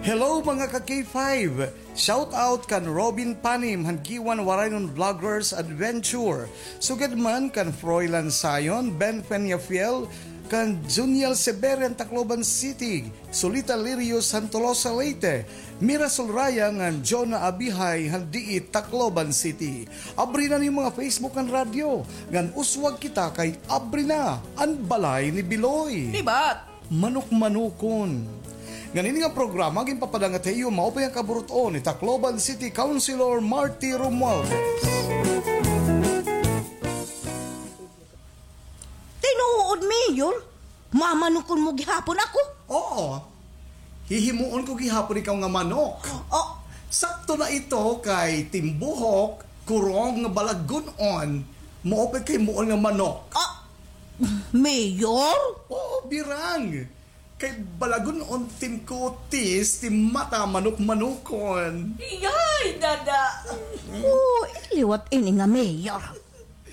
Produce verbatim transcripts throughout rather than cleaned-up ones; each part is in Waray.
Hello, mga ka K five! Shout out kan Robin Panim han Giwan Waraynon Vloggers Adventure. Sugad man kan Froilan Sayon, Ben Peñafiel, kan Juniel Severian, Tacloban City, Solita Lirios han Tolosa, Leyte, Mira Sulraya ngan Jonah Abihay han D E, Tacloban City. Abri na an iyo mga Facebook ngan radyo, ngan uswag kita kay abri na an Balay ni Biloy. Libat! Manok-manokon. Ngan ini nga programa ginpapadangat ha iyo maupay nga kaburut-on ni Tacloban City Councilor Marty Romualdez. Tinuod, Mayor? Mamanokon mo gihapon ako? Oo. Hihimuon ko gihapon ikaw nga manok. Oh. Sakto na ito kay timbuhok, kurong nga balagun-on, maupay kay himuon nga manok. Ah, Mayor? Oo, birang. Kay balagun-on tim kutis, tim mata manok-manokon. Iyay, dada. Oh, liwat ini nga Mayor.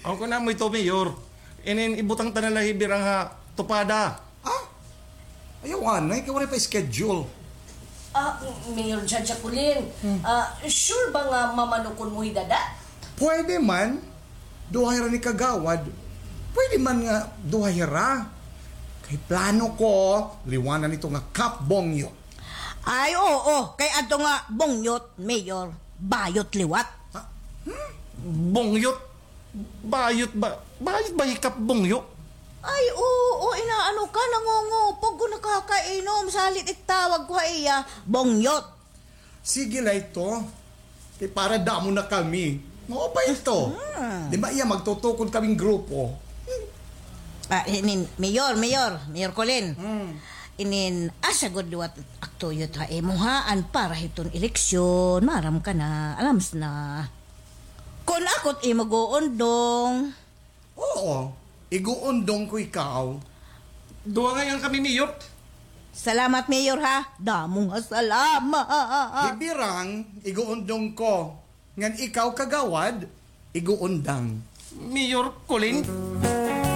Aw, kun amo ito, Mayor. Inin ibutang ta na la hi Birang ha tupada. Ah? Ayaw anay, kay waray pa schedule. Ah, Mayor Jaja Colin, ah, sure ba nga mamanokon mo hi dada? Pwede man. Duha hira ni Kagawad. Pwede man nga duha hira. Kay plano ko, liwanan ito nga Cup Bongyo. Ay, oo. Kay adto nga bongyot, Mayor, bayot liwat. Ha? Hmm? Bongyot? Bayot ba? Bayot ba hi Cup Bongyo? Ay, oo. Inaano ka? Nangungupog ko, nakakainom. Salit itawag ko ha iya, bongyot. Sige la ito. Kay para damo na kami. Maupay ito. Hmm. Di ba iya magtutukod kaming grupo? Ah, inin, Mayor, Mayor, Mayor Colin. Hmm. Inin, asa gud liwat ak tuyot ha imo ha, an para hiton eleksyon, maaram ka na, alams na. Kun ako it imo guundong. Oo, iguundong ko ikaw. Duha ngay-an kami, Mayor. Salamat, Mayor, ha? Damo nga salamat. Hi Birang, iguundong ko. Ngan ikaw, Kagawad, iguundang. Mayor Colin?